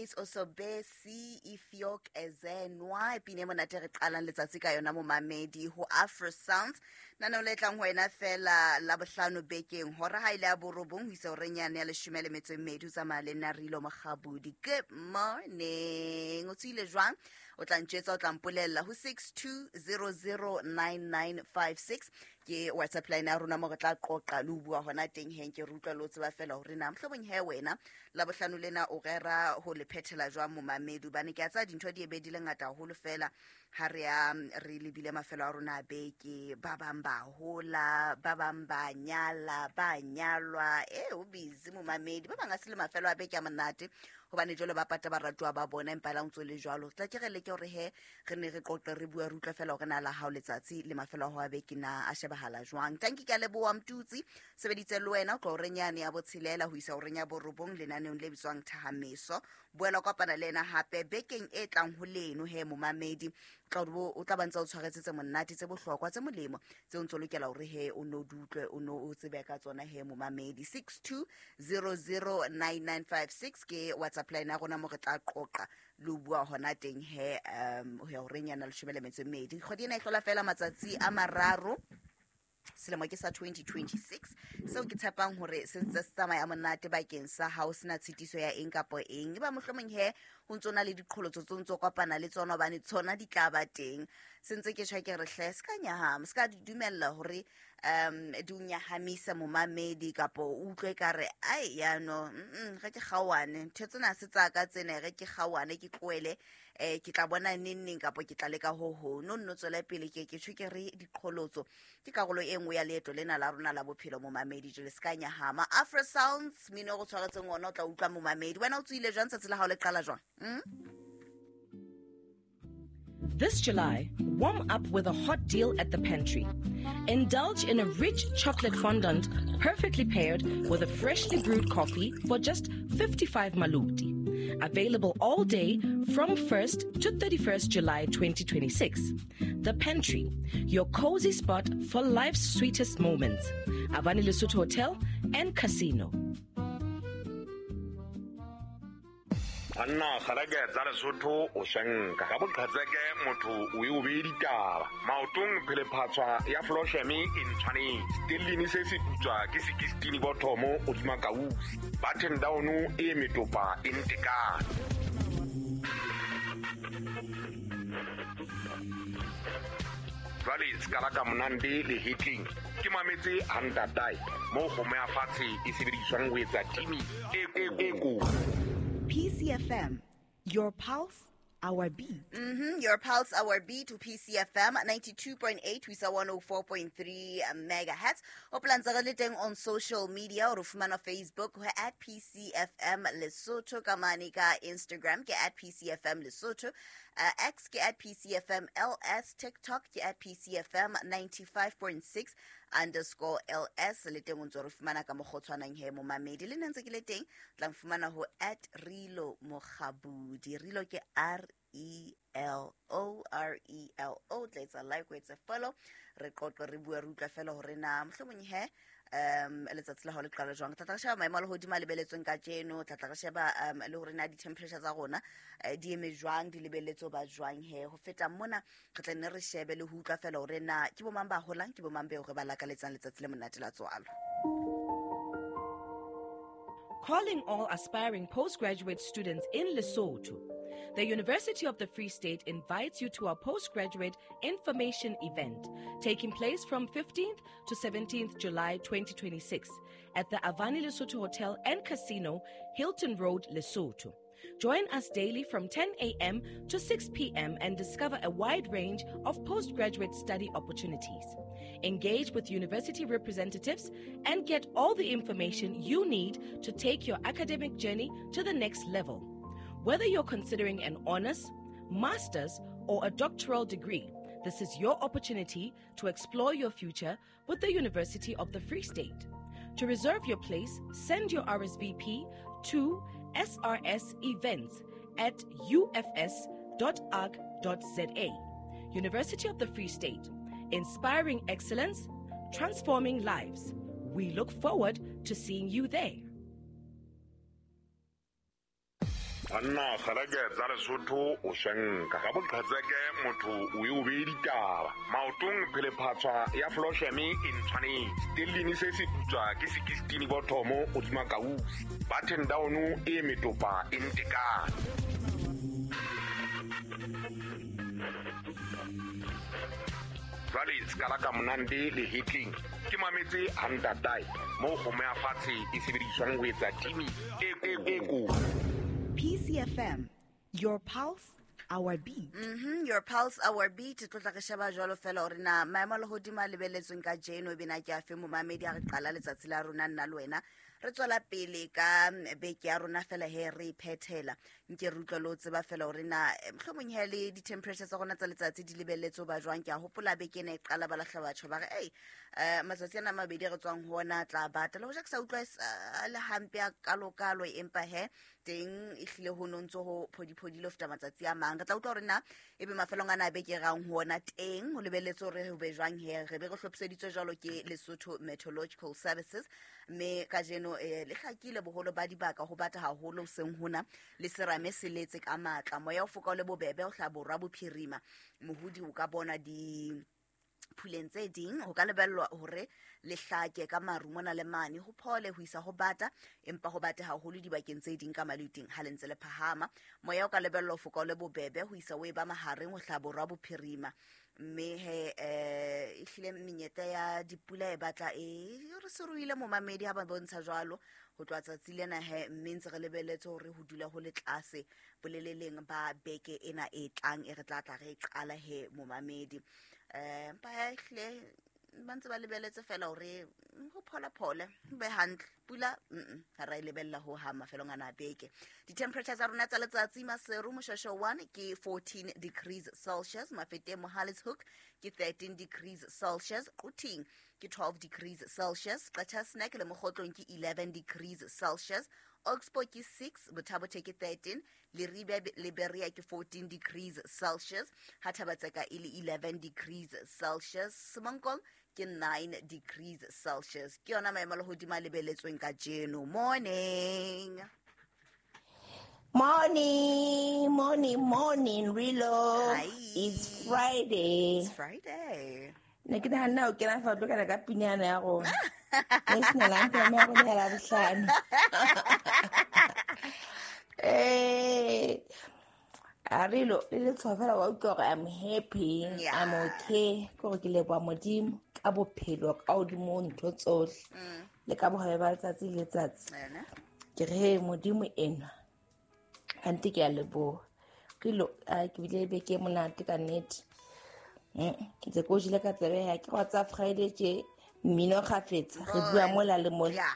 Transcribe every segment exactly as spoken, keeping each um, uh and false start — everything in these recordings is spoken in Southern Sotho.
Grace Osobesi Ifiok Ezenwa pine monate re qalang letsatsi ka yona momamedi ho Afro Sounds. Nana o letlang ho wena fela la bohlano bekeng hora ha ile ya borobong ho isa horeng yane ya leshome le metso e mmedi o tsamaya le nna Rilo Mokgabudi. Good morning. O tswile jwang? O tla ntjwetsa, o tla mpolella ho six two zero zero nine nine five six ke WhatsApp line ya rona mo re tla qoqa le ho bua hona teng heng ke re utlwa le o tseba fela hore na mohlomong he wena la bohlano lena o rera ho le phethela jwang momamedi, hobane ke a tsaya dintho di ebe di le ngata haholo fela ha re ya re lebile mafelo a rona a beke, ba bang ba hola, ba bang ba nyala, ba nyalwa, eh o busy momamedi, ba bang a se le mafelo a beke a monate hobane jwale ba pata baratuwa ba bona empa la ntso le jwalo. Tla ke re leke hore he re ne re qoqe re bua re utlwa fela hore na la hao letsatsi le mafelo a ho a beke na a shebahala jwang. Tanki ke a leboha Mtutsi, sebeditse le wena o tlo horeng yane ya botshelela ho isa horeng ya borobong lenaneong le bitswang Thahameso. Boela kopana le ena hape bekeng e tlang ho leno he momamedi, o tla ba ntse o tshwaretse tse monate tse bohlokwa tse molemo tse o ntso lokela hore he o no di utlwe o no o tsebe ka tsona he momamedi. six two zero zero nine nine five six ke WhatsApp line ya rona mo re tla qoqa le ho bua hona teng he um ho ya horeng yana leshome le metso e mmedi. Kgwedi ena e hlola fela matsatsi a mararo, selemo ke sa twenty twenty-six, seo ke tshepang hore se ntse se tsamaya monate bakeng sa hao, sena tshitiso ya eng kapa eng. Eba mohlomong he ho ntso na le diqholotso tse ntso kopana le tsona hobane tsona di tla ba teng. Se ntse ke tjho ke re hle se ka nyahama, se ka di dumella hore um di o nyahamisa momamedi kapa o utlwe ka re ai yano mm re ke kgaoane ntho tsena se tsa ka tsena, re ke kgaoane ke tlohele eh ke tla bona neng neng kapa ke tla leka ho ho no nno tswela pele. Ke ke tjho ke re diqholotso ke karolo e nngwe ya leeto lena la rona la bophelo momamedi, jwale se ka nyahama. Afro Sounds mino go tshwaretseng ona o tla utlwa momamedi. Wena o tswile jwang tsatsi la hao le qala jwang? Mm? This July, warm up with a hot deal at the pantry. Indulge in a rich chocolate fondant perfectly paired with a freshly brewed coffee for just fifty-five maluti. Available all day from first to thirty-first July twenty twenty-six. The Pantry, your cozy spot for life's sweetest moments. Avani Lesotho Hotel and Casino. Anna kgareke tsa Lesotho o shenka ka boqhetseke motho o e o be ditaba maotong phele phatswa ya Floshemi e ntshwanetse stellini se se putswa ke sixteen bothomo o tsuma kausi button down e metopa e ntekane. Jwale skala ka monande le hitling ke mametse hantatai mo kgomo ya fatshe e sebediswang ho etsa timi e e ko. P C F M, your pulse, our beat. Mm-hmm. Your pulse, our beat to P C F M ninety-two point eight, we saw one oh four point three megahertz. O plantsa re le teng on social media, o re fumana Facebook at P C F M Lesotho, ka mane ka Instagram ke at P C F M Lesotho, uh, X ke at P C F M L S, TikTok ke at P C F M ninety-five point six underscore L S. Le teng o ntso re fumana ka mokgwa o tshwanang he momamedi. Le nna ntse ke le teng, tla mfumana ho at Rilo Mokgabudi. Rilo ke R E L O R E L O. Tla etsa like, o etsa follow. Re qoqe re bua re utlwa fela hore na mohlomong he um letsatsi la hao le qala jwang. Tla tla re sheba maemo a lehodimo a lebeletsweng kajeno, tla tla re sheba um le hore na di-temperature tsa rona di eme jwang, di lebeletswe ba jwang he. Ho feta mona re tla nne re shebe le ho utlwa fela hore na ke bo mang ba holang, ke bo mang beo re ba lakaletsang letsatsi le monate la tswalo. Calling all aspiring postgraduate students in Lesotho. The University of the Free State invites you to our postgraduate information event taking place from fifteenth to seventeenth July twenty twenty-six at the Avani Lesotho Hotel and Casino, Hilton Road, Lesotho. Join us daily from ten a.m. to six p.m. and discover a wide range of postgraduate study opportunities. Engage with university representatives and get all the information you need to take your academic journey to the next level. Whether you're considering an honors, master's, or a doctoral degree, this is your opportunity to explore your future with the University of the Free State. To reserve your place, send your R S V P to S R S events at U F S dot org dot Z A. University of the Free State, inspiring excellence, transforming lives. We look forward to seeing you there. Banna kgalake tsa Lesotho o shenka ka boqhetseke motho o e o bee ditaba maotong phelephatswa ya Flosheme e ntshwanetse stellini se se putswa ke sixteen bothomo o tsuma kausi button down e metopa e ntekane. Jwale skala ka monande le hitling ke mametse hantatai mo kgomo ya fatshe e sebediswang ho etsa timi e e ko. P C F M, your pulse, our beat. Mhm, your pulse, our beat. Tlotla re sheba jwalo fela hore na maemo a lehodimo a lebelletsweng ka jeno e bena ke afe momamedi a re qala letsatsi la rona nna le wena. Re tswela pele ka beke ya rona fela he re phethela. Nke re utlwa le ho tseba fela hore na mohlomong he le di-temperature tsa rona tsa letsatsi di lebelletse ho ba jwang. Ke a hopola beke ena e qala ba lahla batho ba re ei eh matsatsi ana a mabedi re tswang ho ona a tla bata. Le hoja ke sa utlwa e le hampe a kalokalo empa he teng e hlile ho no ntso ho phodiphodile ho feta matsatsi a mang. Re tla utlwa hore na ebe mafelong ana a beke rang ho ona teng ho lebelletse hore ho be jwang he re be re hlophiseditswe jwalo ke Lesotho Meteorological Services. Mme kajeno eh le hlakile boholo ba dibaka ho bata haholo hoseng hona le serame se letse ka matla. Moya o foka o le bobebe o hla borwa bophirima. Mohodi o ka bona di phuleng tse ding ho ka lebellwa hore le hlake ka maru mona le mane ho phole ho isa ho bata empa ho bate haholo dibakeng tse ding ka maluting ha le ntse le phahama. Moya o ka lebellwa ho foka o le bobebe ho isa o e ba mahareng ho hla borwa bophirima. Mme he eh e hlile menyetla ya dipula e batla e re se ruile momamedi ha ba bontsha jwalo ho tloha tsatsi lena he mme ntse re lebelletse hore ho dula ho le tlase boleleleng ba beke ena e tlang e re tla tla re qala he momamedi. Eh empa he hlile ba ntse ba lebelletse fela hore ho phola phole be hantle pula mm ha ra e lebella ho ha mafelong ana a beke. Di-temperature tsa rona tsa letsatsi Maseru Moshweshwe one ke fourteen degrees Celsius, Mafeteng Mohale's Hoek ke thirteen degrees Celsius, Quthing ke twelve degrees Celsius, Qacha's Nek le Mokgotlong ke eleven degrees Celsius, Oxbow ke six, Botha-Bothe ke thirteen, Leribe le Berea ke fourteen degrees Celsius, ha Thabatseka e le eleven degrees Celsius, Semonkong ke nine degrees Celsius. Ke yona maemo a lehodimo a lebelletsweng kajeno. Morning. Morning, morning, morning, Rilo. Hi. It's Friday. It's Friday. Ne ke nahana o kena fa o tlo kana ka pinyana ya rona. National anthem ya rona ya Labohlano. Eh, a Rilo, le letshwao fela wa utlwa hore I'm happy, Yeah. I'm okay. Ke hore ke leboha Modimo ka bophelo ka hodimo ho ntho tsohle. Mm. Le ka bohabe ba letsatsi le letsatsi. Ene. Ke re he Modimo enwa. Ante ke a leboha. Rilo, a ke bile beke e monate ka nnete. Mm, ntse ke o jele ka tsebe ya ke wa tsa Friday tje mmino kgafetsa re bua mola le mola. Yeah.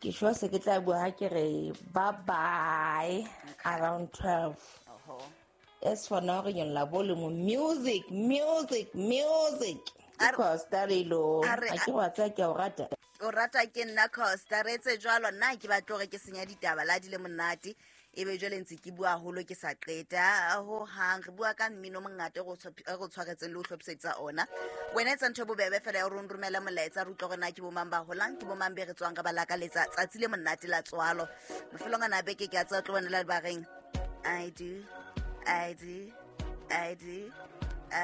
Ke sure se ke tla bua ha ke re bye bye Okay. around twelve. Oho. As for now re nyolla volume music music music. A re- Because Darilo, a re- a ke wa tsaya ke a o rata. O rata ke nna Costa re etse jwalo nna ke batla hore ke senya ditaba la di le monate ebe jwale ntse ke bua haholo ke sa qeta ho hang. Re bua ka mmino o mongata e re o tshwap- e re o tshwaretseng le ho hlophisetsa ona. Wena etsa ntho e bobebe fela ya hore o nromele molaetsa re utlwe hore na ke bo mang ba holang ke bo mang be re tswang re ba lakaletsa tsatsi le monate la tswalo. Mafelong ana a beke ke a tseba o tlo bona le ba reng I do, I do, I do.